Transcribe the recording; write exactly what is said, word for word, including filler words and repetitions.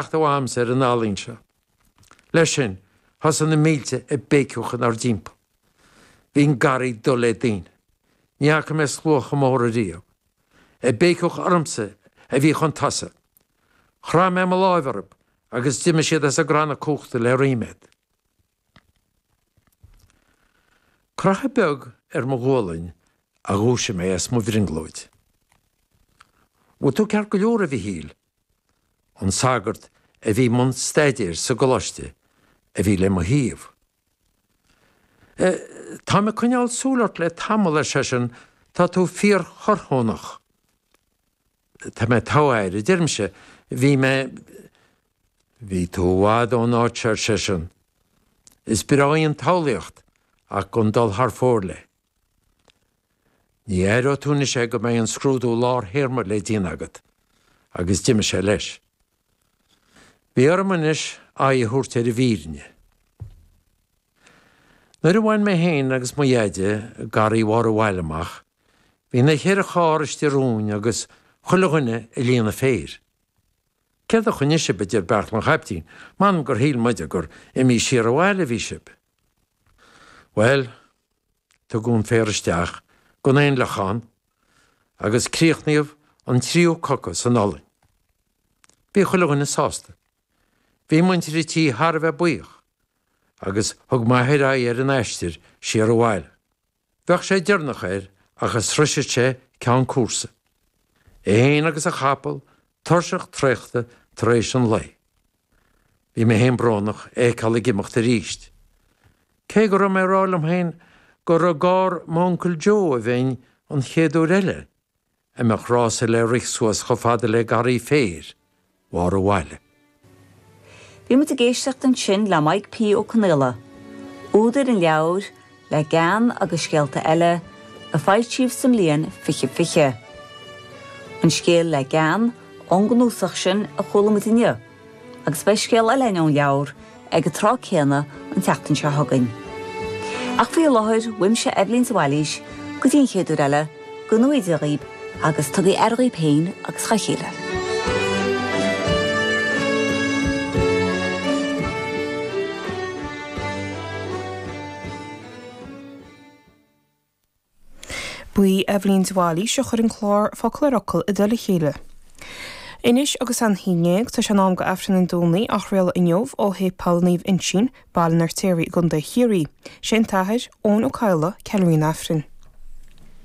teacht uaimse ar an ealaín seo. Leis sin, thosaigh na mílte ag béiceadh inár dtimpeall. Bhí an garraí dubh le daoine. Ní fhaca mé slua chomh mór ariamh. Ag béiceadh ormsa a bhí chun tosaigh. Chroith mé mo láimh orthu agus d'imigh siad as a gcranna cumhachta le ríméad. Croitheadh beag ar mo ghualainn a dhúisigh mé as mo bhrionglóid. Bhfuil tú ceart go leor, a Mhichíl? An sagart a bhí i mbun staidéir sa gcoláiste a bhí le mo thaobh. Táim ag coinneáil súil ort le tamall, ar seisean, tá tú fíor-chorrthónach. Tá mé togha air, a deirimse, bhí mé. Bhí tú i bhfad ón áit seo, ar seisean. Is breá í an tsamhlaíocht ach gan dul thar fóir léi. Ní aireoidh tú anois é go mbeidh an scrúdú lár-théarma le déanamh agat. Agus d'imigh sé leis. Bhí orm anois aghaidh a thabhairt ar an bhfírinne. Nuair a bhain mé féin agus mo dheaide Garraí Bharr an Bhaile amach, bhí na ceithre charr istigh romhainn agus chuile dhuine ag líonadh féir. Céard a choinnigh sibh, a deir Beairtle an Chaiptín, m'anam gur shíl muide gur imithe siar abhaile a bhí sibh. Bhuel, tugadh an féar isteach gan aon fhliuch ann agus críochnaíodh an tríú coca san ollainn. Bhí chuile dhuine sásta. Bhí muintir an tí thar a bheith buíoch agus thug m'athair aghaidh ar an aistear siar abhaile. Bheadh sé deireanach air ach a sroisfeadh sé ceann cúrsa. É féin agus a chapall, tuirseach traochta tar éis an lae. Bhí mé féin brónach é a fheiceáil ag imeacht arís. Cé go raibh mé ag rá liom féin gur i gcarr m'uncail Joe a bheinn an chéad uair eile a mbeadh rása le rith suas chomh fada le garraí féir Bharr an Bhaile. Bhí muid ag éisteacht ansin le Maidhc P. Ó Conaola, údar an leabhair Le Gean agus Scéalta Eile, a foilsíodh sa mbliain fiche fiche. An scéal Le Gean ón gcnuasach sin a chuala muid inniu, agus beidh scéal eile ón leabhar ag an tráth céanna an tseachtain seo chugainn. Ach faoi láthair, uaimse Eibhlín de Bhailís, go dtí an chéad uair eile, go ngnóthaí Dia dhaoib agus tugaigí aire dhaoib féin agus dhá chéile. Ba í Eibhlín de Bhailís a chuir an clár Focal ar Fhocal i dtoll a chéile. Anois agus é an haon déag, tá sé in am do Aifreann an Domhnaigh á chraoladh inniu ó Shéipéal Naomh Uinseann, Baile an Fheirtéaraigh i gContae Chiarraí. Sé an tAthair, Eoin Ó Cadhla, ceiliúraí an Aifrinn.